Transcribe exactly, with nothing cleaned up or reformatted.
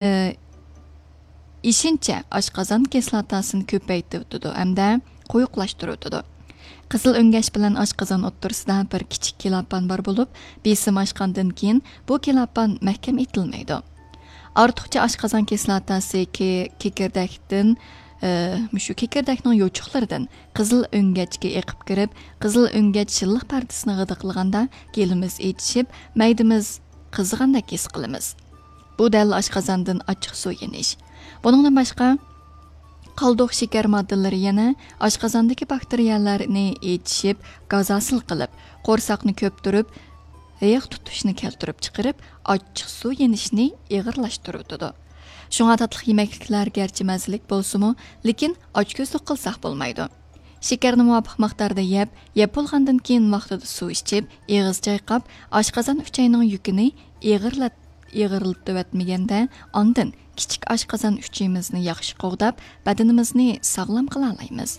ئېشىنچە ئاشقازان كىسلاتاسىنى كۆپەيتىۋېتىدۇ ھەمدە قويۇقلاشتۇرۇۋېتىدۇ. قىزىل ئۆڭگەچ بىلەن ئاشقازان ئوتتۇرىسىدا بىر كىچىك كىلاپان بار بولۇپ، بېسىم ئاشقاندىن كېيىن بۇ كىلاپان مەھكەم ئېتىلمەيدۇ. ئارتۇقچە ئاشقازان كىسلاتاسى كېكىردەكتىن، مۇشۇ كېكىردەكنىڭ يوچۇقلىرىدىن قىزىل ئۆڭگەچكە ئېقىپ كىرىپ، قىزىل ئۆڭگەچ شىللىق پەردىسىنى غىدىقلىغاندا، گېلىمىز ئېچىشىپ، مەيدىمىز قىزىغاندەك ھېس قىلىمىز. بۇ دەل ئاشقازاندىن ئاچچىق سۇ يېنىش. بۇنىڭدىن باشقا، قالدۇق شېكەر ماددىلىرى يەنە ئاشقازاندىكى باكتېرىيەلەرنى ئېچىشىپ، گاز ھاسىل قىلىپ، قورساقنى كۆپتۈرۈپ، ھېيىق تۇتۇشنى كەلتۈرۈپ چىقىرىپ، ئاچچىق سۇ يېنىشنى ئېغىرلاشتۇرۇۋېتىدۇ. شۇڭا تاتلىق يېمەكلىكلەر گەرچە مەززىلىك بولسىمۇ، لېكىن ئاچكۆزلۈك قىلساق بولمايدۇ. شېكەرنى مۇۋاپىق مىقداردا يەپ، يەپ بولغاندىن كېيىن ۋاقتىدا سۇ ئىچىپ، ئېغىز چايقاپ، ئاشقازان ئۈچەينىڭ يۈكىنى ئېغىرلات-، ئېغىرلىتىۋەتمىگەندە، ئاندىن كىچىك ئاشقازان ئۈچىيىمىزنى ياخشى قوغداپ، بەدىنىمىزنى ساغلام قىلالايمىز.